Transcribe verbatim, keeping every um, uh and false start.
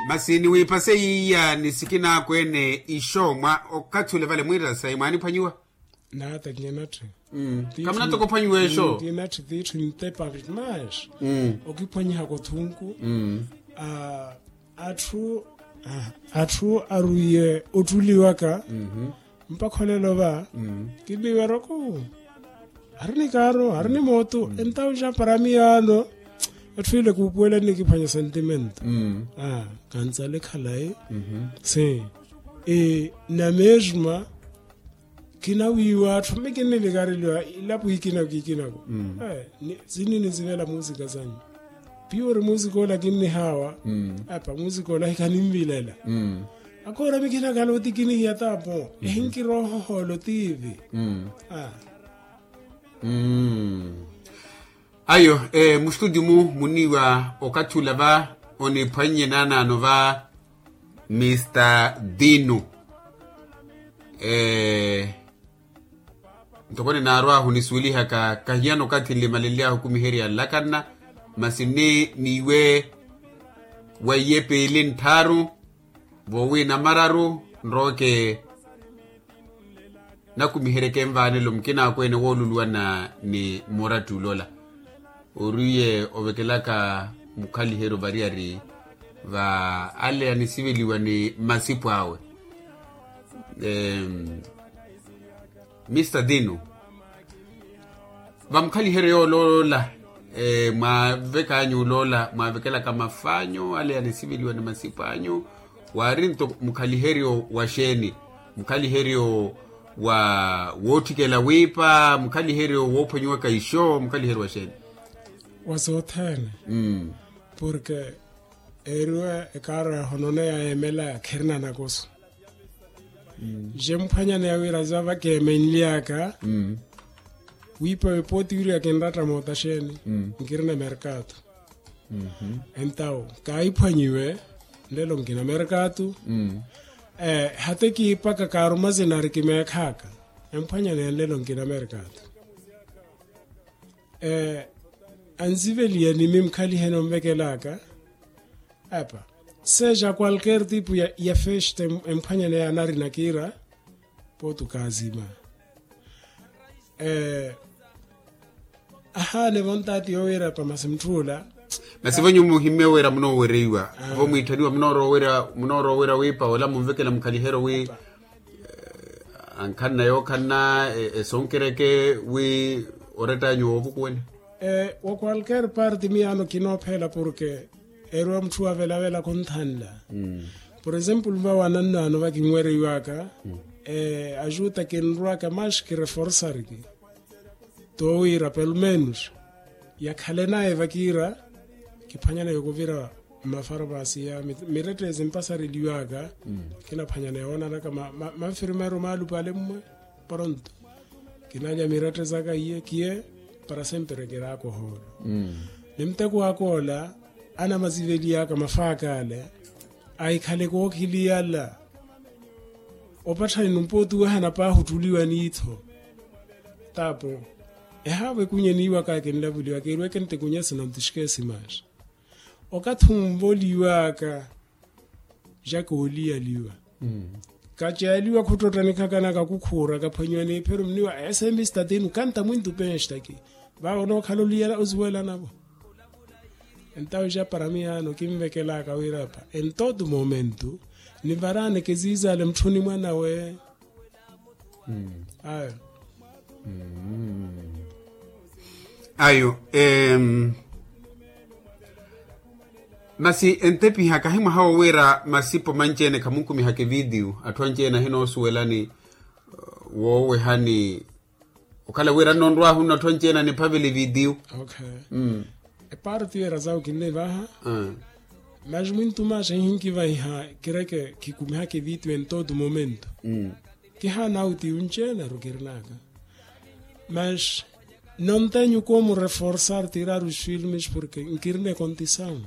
Masi niwiipase yiiya ni sikinaakweene ixo mwa okathi ule vale mwiira sayi mwaaniphwanyiwa. Naata kinatthi. Kamunatokophwanyiwa exo. Kinatthi tiitthu ntepa mas okiphwanyihaka othunku. Atthu atthu arwiye otthuliwaka mpakha olelo va kinniweroko. Ari ni kaaru ari ni mootu entawu ja para miyaano. Atthu ile kuupuwelani nikiphwanya sentimento. Kantsale khalayi si na mesma. Kinawiiwa atthu mi kinnivikareliwa ilapo ikinako ikinako. Sinni nizivela muusika sanyu. Piyo ori muusika ola kinnihaawa. Apa muusika ola hikhanimvilela. Akoora mi khinakhala otikinihiya taapo ehinkiroohohoola otiivi. Ayo. Mustutio mu muniiwa okathi ula va oniphwannye naanaano va mista dinu. Ntoko ninaarwahu nisuwelihaka kahiyana okathi nlimalenlyahu okumiherya nlakanna. Masi nni niiwe wa iyepe ili nttharu voowi namararu nrooke nakumiheryeke nvaanelo mukina akweene wooluluwana ni muratti ulola. Oriye ovekelaka mukhaliheryo variyari va ale anisiveliwa ni masipu awe. Mista dinu, vamukhaliheriyo oloola mwaavek'anyu oloola mwaavekelaka mafaanyu ale anisiveliwa ni masipu anyu? Waari nto mukhaliheryo wa xeeni? Mukhaliheryo wa wootthikela wiipa mukhaliheryo woophwanyiwaka ixo mukhaliheryo wa xeeni? Wa sothene. Porke eeriwa ekaaro ya honone ya emela khirina nakoso. Je mphwanyaneya wira za vakeemenly'aka wiipa wepooti wiriwa kinratta moota xeeni? Nkirina merkatu. Entawu kaahiphwanyiwe nlelo nkina merkatu. Hata ekiipaka kaaruma zina arikimeekh'aka emphwanyaneya nlelo nkina merkatu. Ansiveliya ni mi mukhaliheni onvekel'aka. Apa seja qualquer tipo ya festa emphwanyaneya anarina kiira. Potu kaazima ahaane vontaati yowira pamasi mutthula. Masi vonyu muhimme wira munoowereiwa vo mwiitthaniwa munooroowira wiipa ola munvekela mukhaliheryo wi ankhanna yookhanna esonkereke wi orett'anyu woovukuwela. Wa qualquer parte miyaano kinoophela porke eeriwa mutthu wavelavela khunthanla. Por exemplo va wanannaano vakinwereiwaka ajuta kinrwaka mas kireforsariki. Towira pelomenus yakhale naye vakiira kiphwanyaneya okuvira mmafarmasi ya mirettezi mpasareliwaka. Kinaphwanyaneya woonanaka manfirmeru maalupa ale mmwe pronto. Kinalya mirettezaka iye kiye para sempre kirakohoolo. Ni muteko ak'ola anamaziveliyaka mafaak'ale ahikhale kookhiliyala. Opatthani numpooti wehana paahi otthuliwa niitho. Taapo ehaavo ekunye niiwaka kinlavuliwa keeriweke ntekunyasi na ntixikesi maxa okathi onvoliwaka. Jakooliyaliwa kaceeliwa khuttotta nikhakanaka kukhuura kaphwanyiwa n'iphiru mniwa ese mistatinu kanta mwintu penstaki. Vaawo nookhala oliyala osuwelanavo. Entawo ja para miyaano kinvekelaka wirapa entotu momento nivaraaneke ziizale mutthuni mwanawe. Ayo ayo. Masi entepiha kahi mwaha wo wira masipo manci-ene khamunkumihaka evidiyu atthu anci-ene ahinoosuwelani. Woowehani okhala wira nnonrwahu nnatthu anci-ene aniphavela evidiyu. Eparti wira zawo kinnivaha. Mas mwintu maxa ihinkivahiha kireke kikumihaka evidiyu entotu momento. Kihaana auti yunci-ene arukirinaka mas nontenyu koomureforsar tiraru swilmis porke nkirina ekontisawu.